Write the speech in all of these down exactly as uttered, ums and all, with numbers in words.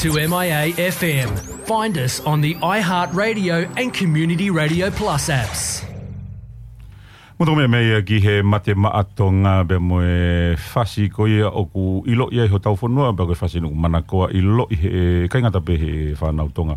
To M I A F M. Find us on the iHeartRadio and Community Radio Plus apps. Mo tō meʻa mai ia ki he Mate Maʻa Tonga pea mo e fasi ko ia ʻoku ʻiloʻi ai hotau fonua, pea ko e fasi ʻoku manakoa ʻiloʻi he, ʻikai ngata pē he fānau Tonga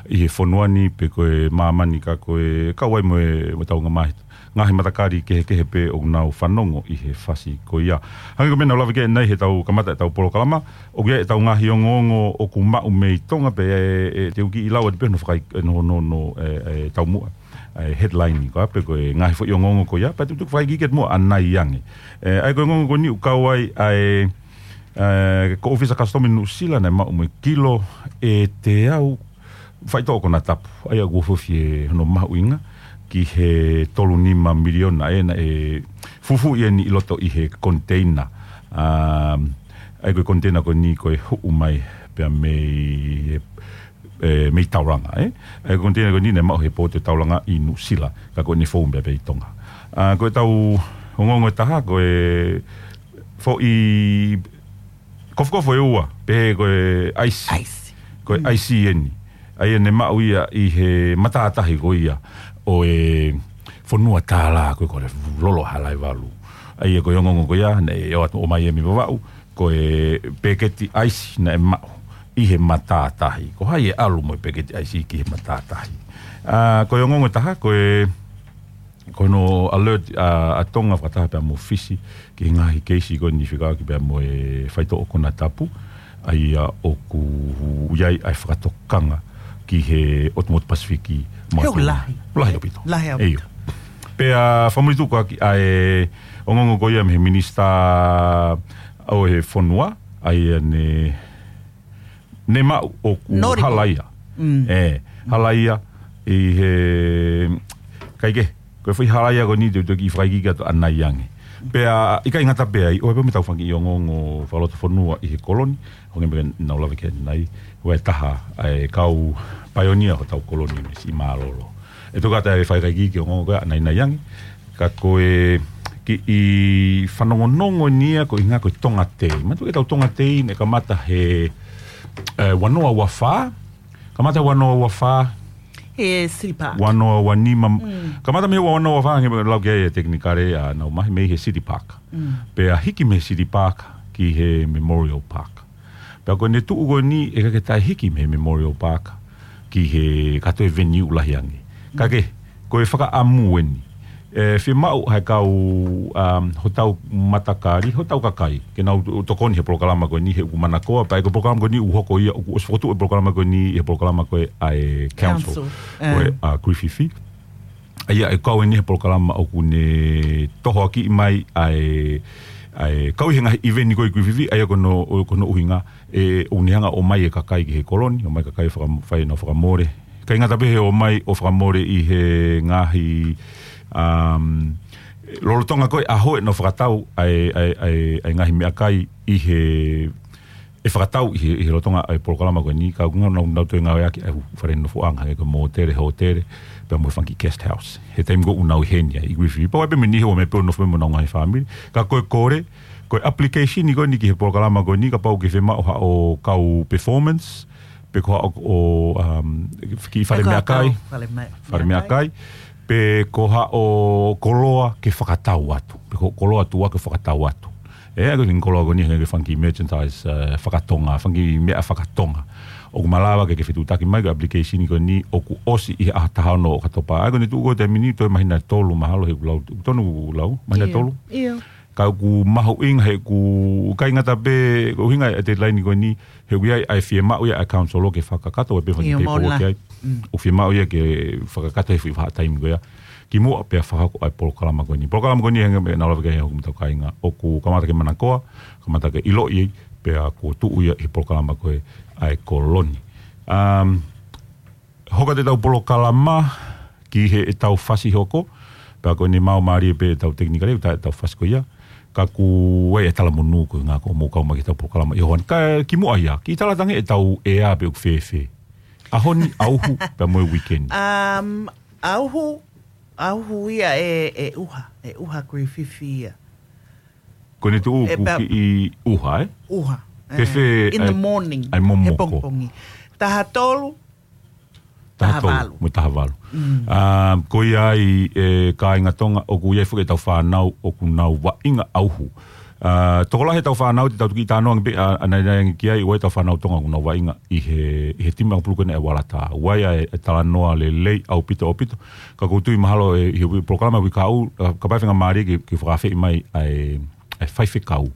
ʻi he fonua ni pe ko e māmani, ka ko e kau ai mo e, mo hotau ngaahi, ngaahi matakali kehekehe pē ʻoku nau fanongo ʻi he fasi ko ia. Hangē ko e meʻa naʻa ku lave ki ai ʻanenai heʻetau kamata ʻetau polokalama, ʻoku ʻi ai ʻetau ngaahi ongoongo ʻoku maʻu mei Tonga pea ʻe, ʻe te u kiʻi lau atu pē hono fakai-, hono, hono, hono, ʻe, ʻe, taumuʻa, ʻe, headline ko ia pe ko e ngaahi foʻi ongoongo ko ia, pea te u fakaikiiki atu muʻa ʻanai ange. ʻE, ʻa ia ko e ongoongo ko eni ʻoku kau ai ʻa e, ʻe, ko e ʻōfisa Customs Nuʻusila naʻe maʻu mo e kilo ʻe teau faitoʻo konatapu. ʻA ia ʻoku ofi ʻe hono mahuʻinga ki he tolu nima miliona ʻe naʻe fufū ia ni ʻi loto ʻi he container. Um, ʻa ia ko e container ko eni ko e huʻu mai pea mei, ʻe, mei Tauranga, ē? ʻA ia ko e container ko eni naʻe maʻu he pōti ʻo Tauranga ʻi Nuʻusila, ka ko eni fou mai pē ʻi Tonga. ʻA, ko ʻetau ongoongo ʻe taha, ko e foʻi kofokofo ʻe ua, pehē ko e ʻaisi. ʻAisi. Ko e ʻaisi eni. ʻA ia naʻe maʻu ia ʻi he matātahi ko ia ʻo e fonua tālā ko ē ko e Lolo Haʻa Laʻivalu. ʻA ia ko e ongoongo ko ia, naʻe ʻoatu ʻomai ia mei Vavaʻu, ko e peketi ʻaisi naʻe maʻu ʻi he matātahi. Ko hai ʻe ʻalu mo e peketi ʻaisi ki he matātahi. ʻA, ko e ongoongo ʻe taha, ko e ko hono alert ʻa, ʻa Tonga fakataha pea mo Fisi ki he ngaahi keisi ko eni fekauʻaki pea mo e faitoʻo konatapu, ʻa ia ʻoku ʻi ai ʻa e fakatokanga ki he ʻotu motu Pasifiki mo He ʻoku Tonga. Lahi. Lahi ʻaupito. Lahi ʻaupito. ʻIo. Pea fakamolemole atu ko ia ki he ongoongo ko ia mei he minisitā ʻo e fonua, ʻa ia ne ne maʻu ʻoku Noriko. Hala ia. Mm. ʻE, hala ia ʻi he, kae kehe, ko e foʻi hala ia ko eni te u toki fakaikiiki atu ʻanai ange. Pea ʻikai ngata pē ai, ʻoku ʻi ai pē mo ʻetau fanga kiʻi ongoongo fakalotofonua ʻi he koloni, hangē ko e meʻa naʻa ku lave ki ai ʻanenai, ʻoku ʻi ai ʻa e taha ʻa e kau paionia hotau koloni mei Siʻi Mālōlō. ʻE toki ʻatā ʻa e fakaikiiki ongoongo ko ia ʻanai ange, ka ko e kiʻi fanongonongo eni ia ko e ʻuhinga ko e Tonga Day. Manatuʻi ʻetau Tonga Day naʻe kamata he, ʻe, ua noa ua fā. Kamata ua noa ua fā. He City Park. Ua noa ua nima. Mm. Kamata mei he ua noa ua fā, hangē ko e lau ki ai e tekinikale ʻa Naomi mei he City Park. Mm. Pea hiki mei he City Park ki he Memorial Park. Pea ko ʻene tuʻu ko eni ʻe ʻikai ke taʻehiki mei he Memorial Park ki he kātoa e venue lahi ange. Ka ke, ko e fakaʻamu eni. ʻE, fiemaʻu ʻe he kau, um, hotau matakali, hotau kakai, ke nau to-, tokoni he polokalama ko eni, he ʻoku manakoa, pea ko e polokalama ko eni ʻoku hoko ia, ʻoku ʻosi fokotuʻu e polokalama ko eni, he polokalama ko ē ʻa e council, Council, ko ē, ʻa Griffith. ʻA ia, ʻe kau eni he polokalama ʻoku ne tohoakiʻi mai ʻa e, ʻa e kau ʻi he ngaahi ʻiveni ko ē ʻi Griffith, ʻa ia ko hono, ko hono ʻuhinga, ʻe, ʻoku ne hanga ʻo ʻomai e kakai ki he koloni, ʻomai e kakai faka-, fai ʻenau fakamole. ʻIkai ngata pē he ʻomai ʻo fakamole ʻi he ngaahi, um, lolotonga ko ē ʻaho ʻenau fakatau ʻa e, ʻa e, ʻa e, ʻa e ngaahi meʻakai ʻi he ʻe fakatau ʻi he, ʻi he lolotonga ʻa e polokalama ko eni, ka ʻoku nau, nau, nau toe ngāueʻaki ʻa e fale nofoʻanga, hangē ko e mōtele, hōtele, pea mo e fanga kiʻi guest house. He taimi ko ē ʻoku nau ʻi heni ai, ʻi Griffith. Pea ʻoku ʻi ai pē mei he ʻoku nau ō mai pē ʻo nofo mo ʻenau ngaahi fāmili. Ka ko e kole, ko e application ko eni ki he polokalama ko eni, kapau ʻoku ke fiemaʻu haʻo kau performance, pe ko haʻo, um, kiʻi fale Pe ko haʻo meʻakai, kau fale me-, fale meʻakai. meʻakai. Pe ko haʻo koloa ke fakatau atu. Pe ko e koloa tuʻa ke fakatau atu. ʻE, ʻa ia ko e koloa ko eni hangē ko e fanga kiʻi merchandise, eh, fakatonga, fanga kiʻi meʻa fakatonga. ʻOku malava ke ke fetuʻutaki mai ki he application ko eni ʻoku ʻosi ʻi he ʻaho taha ono ʻo ʻOkatopa. ʻA ia ko ʻene tuʻu ko ē he taimi ni toe māhina ʻe tolu mahalo he ʻoku lau, tonu ʻoku lau, māhina ʻe tolu. ʻIo. Ka ʻoku mahuʻinga he ʻoku ʻikai ngata pē, ko e ʻuhinga e deadline ko eni, he ʻoku ʻi ai ʻa e fiemaʻu ia ʻa e council ke fakakakato, ʻa e pē fanga kiʻi paperwork ʻoku ʻi ai. Mm. ʻOku fiemaʻu ia ke fakakakato he foʻi vahaʻa taimi ko ia. Kimuʻa pea fakahoko ʻa e polokalama ko eni. Polokalama ko eni hangē ko e meʻa naʻa ku lave ki ai hoku matau kāinga. ʻOku kamata ke manakoa, kamata ke ʻiloʻi, pea kuo tuʻu ia ʻi he polokalama ko ē ʻa e koloni. Um, Hoko atu ʻetau polokalama ki heʻetau fasi hoko, pea ko ʻene maumālie pē ʻetau tekinikale, ʻetau, ʻetau fasi ko ia. Ka ʻoku ʻi ai e talamonū ko e ʻuhinga ko hoʻomou kau mai ki heʻetau polokalama ʻi he ʻaho ni. Ka kimuʻa ia, kiʻi tala ange ʻetau ʻea pe ʻoku fēfē. ʻAho ni, ʻauhu, pea mo e weekend. Um, ʻauhu, ʻauhu ia ʻe, ʻe ʻuha, ʻe ʻuha Griffith ia. Ko ʻene tuʻu ʻoku kiʻi ʻuha, ē? ʻUha. Ke fē, in the morning, ʻa e momoko. He pongipongi. Taha tolu, taha tolu, taha valu. Mo e taha valu. Ko ia ai, ʻe kāinga Tonga, ʻoku ʻi ai foki ʻetau fānau ʻoku nau vaʻinga ʻauhu. Tokolahi ʻetau fānau te tau toki talanoa ange pē ʻanautolu ange ki ai, ʻoku ʻi ai ʻetau fānau Tonga ʻoku nau vaʻinga ʻi he, ʻi he timi ʻakapulu ko eni ʻa e Waratā. ʻOku ʻi ai ʻa e talanoa lelei ʻaupito ʻaupito. Ka ʻoku ou tui mahalo ʻi he polokalama ʻoku ʻi ai, kapau ʻe faingamālie ke, ke fakaafeʻi mai ʻa e, ʻa e faifekau.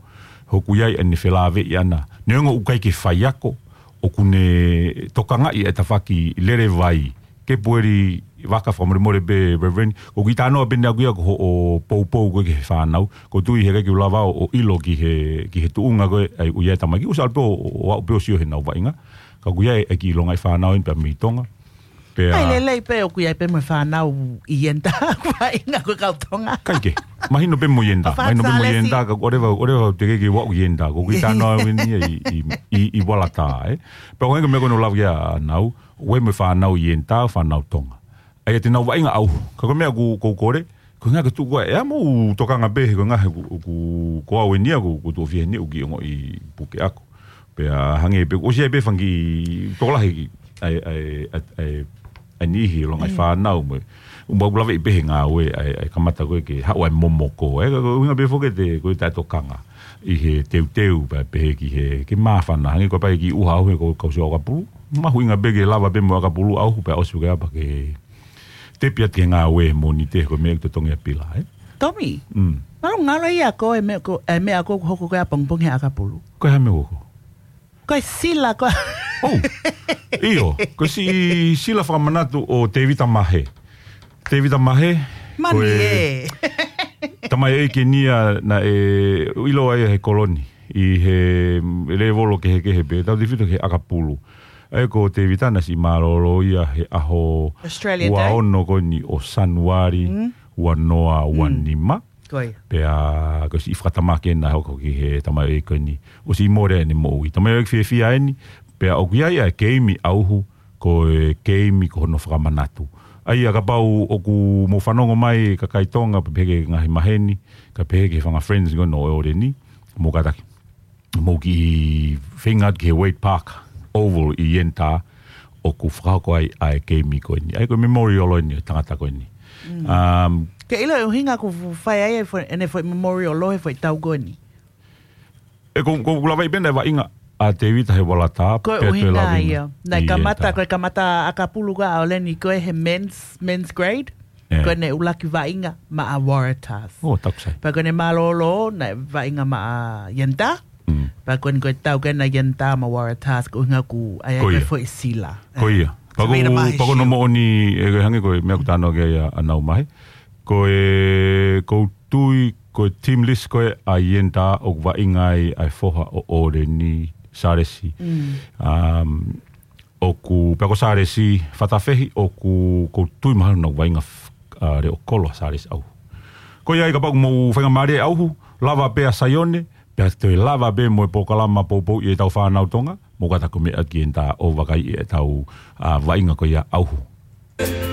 He ʻoku ʻi ai ʻene felāveʻi ʻana. Neongo ʻoku ʻikai ke faiako, ʻoku ne tokangaʻi ʻa e tafaʻaki lele vai. Ke pueli vaka fakamolemole pē, Reverend. ʻOku ʻi ai e talanoa pē ʻeni ʻaʻaku ia ko hoʻo poupou ko ē ki he fānau. ʻOku ou tui he ʻikai ke u lava ʻo, ʻo ʻilo ki he, ki he tuʻunga ko ē, ʻa ia ʻoku ʻi ai e tamaiki. ʻOsi ʻalu pē ʻo, ʻo aʻu pē ʻo sio he nau vaʻinga. Ka ʻoku ʻi ai e kiʻi longaʻi fānau ʻeni pē mei Tonga. Pea ʻai lelei pē ʻoku ʻi ai pē mo e fānau ʻi Ienta, vaʻinga ko e kau Tonga. ʻIkai ke. Mahino pē mo Ienta. Mahino pē mo Ienta, ka ʻoku ʻoleva, ʻoleva te ke ke ʻalu ʻi Ienta. ʻOku ʻi ai e talanoa ʻeni ʻi, ʻi, ʻi, ʻi Waratā, ē. Pea ʻoku ʻi ai e meʻa ko ē naʻe lave ki ai ʻanau, ʻoku ʻi ai mo e fānau ʻi Ienta, fānau Tonga. ʻA ia te nau vaʻinga ʻauhu. Ka ko e meʻa ʻoku, ʻoku ou kole, ko e ʻuhinga ke tuʻu ko ē, ʻa mo u tokanga pē, he ko e ʻuhinga he ʻoku, ʻoku, ko au ʻeni ia, ʻoku, ʻoku tuʻo fiha ʻeni, ʻoku kiʻi ongoʻi puke ʻaku. Pea hangē pē, ʻosi ʻi ai pē fanga kiʻi tokolahi ʻa e, ʻa e, ʻa e, ʻa e, ʻa e niʻihi longaʻi fānau mo e. ʻOku mau lave pē he ngāue ʻa e, ʻa e kamata ko ē ke haʻu ʻa e momoko. ʻE, ka ko e ʻuhinga pē foki te, ko e taʻetokanga. ʻI he teuteu pē, pehē ki he, ke māfana. Hangē ko e pā kiʻi ʻuha ʻauhu he ko e kau sio ʻakapulu. Mahuʻinga pē ke lava pē mo e ʻakapulu ʻauhu pea ʻosi ke apa ke tepi atu ki he ngāue he Mōnite ko e meʻa ʻoku totongi ʻa Pila, ē? Tomi, mm, mālō ngalo ia ko e meʻa ko, e meʻa ko ē ʻoku hoko ko ē ʻapongipongi he ʻakapulu. Ko e hā e meʻa ʻoku hoko? Ko e sila ko ē. ʻOu. ʻIo, ko e siʻi sila fakamanatu ʻo Tevita Mahe. Tevita Mahe, mani ko e ē. Tamaioʻeiki ʻeni ia naʻe ʻilo ai he Koloni. ʻI he lēvolo kehekehe pē, tautefito ki he ʻakapulu. ʻA ia ko Tevita naʻe siʻi mālōlō ia he ʻaho Australia Day. Ua ono ko eni ʻo Sānuali, mm, ua noa, ua nima. Mm. Ko ia. Pea ko e siʻi fakatamaki ʻena hoko ki he tamaioʻeiki ko eni. ʻOsi mole ʻene moʻui. Tamaioʻeiki fiefia ʻeni, pea ʻoku ʻi ai ʻa e keimi ʻauhu, ko e keimi ko hono fakamanatu. ʻA ia kapau ʻoku mou fanongo mai kakai Tonga, pehē ki he ngaahi maheni, kae pehē ki he fanga friends ko eni ʻo ʻOleni, mou kātaki. Mou kiʻi feinga atu ki he Wade Park Oval ʻi Ienta, ʻoku fakahoko ai ʻa e keimi ko eni. ʻA ia ko e memorial ʻeni, tangata ko eni. Mm. Um, ke ʻilo e ʻuhinga ʻoku fai ai e foʻi, ʻene foʻi memorial ʻo he foʻi tau ko eni. ʻE ko, ko lava pē naʻe vaʻinga ʻa Tevita he Waratā, ko e pea toe ʻuhinga lava ia. Naʻe ʻi kamata, Ienta. Ko e kamata ʻakapulu ko ē ʻa ʻOleni ko ē he men's, men's grade. ʻE. Ko ʻene ʻuluaki vaʻinga maʻa Waratahs. ʻO, taku sai. Pea ko ʻene mālōlō, naʻe vaʻinga maʻa Ienta. Mm. Pea ko ʻene ko e tau ko ē naʻe Ienta maʻa Waratahs, ko e ʻuhinga ʻoku ʻi ai ko e foʻi sila. Ko ia. Pea ko, pea ko hono moʻoni, ʻe, ko e hangē ko e meʻa ʻoku talanoa ki ai ʻa, ʻa Nau Mahe. Ko e, ʻoku ou tui, ko e team list ko ē ʻa Ienta ʻoku vaʻinga ai ʻa e foha ʻo ʻOleni, Sālesi. Mm. Um, ʻoku, pea ko Sālesi Fatafehi ʻoku, ʻoku ou tui mahalo naʻa ku vaʻinga f-, ʻa, leʻo kolo ʻa Sālesi ʻauhu. Ko ia ai kapau ʻoku mou faingamālie ʻauhu, lava pē ʻa Saione, pea toe lava pē mo e polokalama poupouʻi ʻetau fānau Tonga, mou kātaki meʻa ki Ienta ʻo vakaiʻi ʻetau, ʻa, vaʻinga ko ia ʻauhu.